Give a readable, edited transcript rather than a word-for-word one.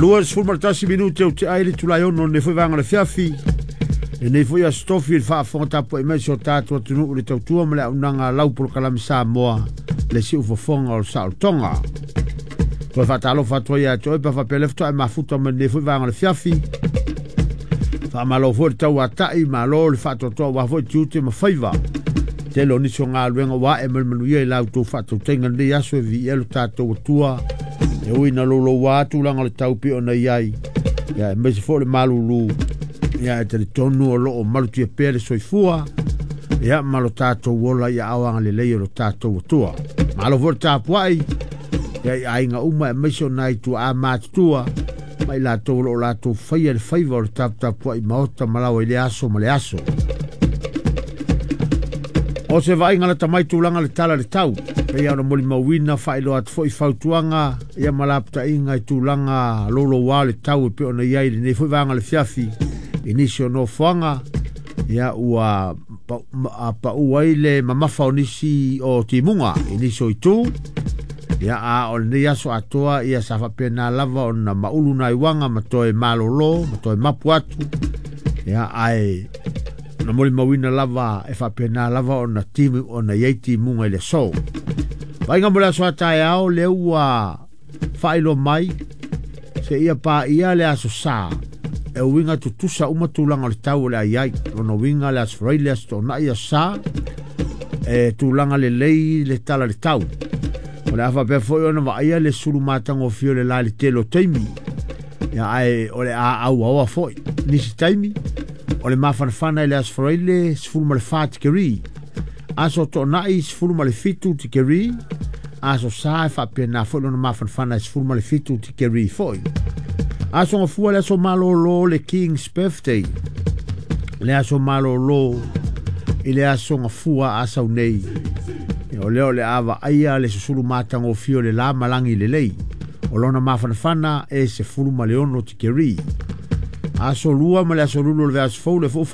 21 minute o te ai le tulai ono nei foi vanga le fiafi. E nei foi aso tofi le faafofoga tapuai mai si o tatou atunuu le tautua ma le auaunaga lau polokalame Samoa le siufofoga o le saolotoga. Toe faatalofa atu ai ia te oe pe faapea le faatoa e mafuta mai lenei foi vaega o le fiafi. Faamalo foi le tauatai, malo le faatoatoa aua foi tiute ma faiva. Tele o nisi o galuega ua ae ma le manuia i la outou faatautaiga lenei aso e viia lo tatou Atua. E ui ina louloua tulaga o le tau pei ona i ai, ia aemaise foi o le malulu, ia e talitonu o lo o malutia pea le soifua, ia ma lo tatou ola i aao agalelei o lo tatou Atua. Malo foi le tapuai, ia i aiga uma aemaise o nai tuaa matutua, ma i latou o lo o latou faia le faiva o le taputapuai maota ma laoa i le aso ma le aso. O se vaaiga lata mai tulaga le tala le tau, pei ona molimauina faailoa atu foi fautuaga ia ma lapataiga i tulaga louloua o le tau e pei ona i ai i lenei foi vaega o le fiafi i nisi o nofoaga ia ua pau ai le mamafa o nisi o timuga i nisi o itu ia a o lenei aso atoa ia sa faapena lava ona maulu nai uaga ma toe malolo ma toe mapu atu ia ae na molimauina lava e faapena lava ona timu ona i ai timuga i le aso. Vaaiga mo le aso a taeao lea ua faailoa mai seia paia le aso Sa e uiga tutusa uma tulaga o le tau o le a i ai. Lona uiga le aso Faraile, le aso Toonai, aso Sa, e tulaga lelei le tala le tau. O le a faapea foi ona vaaia le sulu matagofie o le la i le tele o taimi. Ia, ae o le a auaoa foi. Nisi taimi, o le mafanafana i le aso Faraile 14 tikeri. Aso Toonai 17 tikeri. Aso Sa e faapena foi lona mafanafana e 17 tikeri foi. Aso Gafua le aso malolo le King's Birthday. Le aso malolo i le aso Gafua a sau nei. O lea o le a vaaia le susulu matagofie o le la malagi lelei. O lona mafanafana e 16 tikeri. Aso Lua ma le aso Lulu o le vaiaso fou le foi.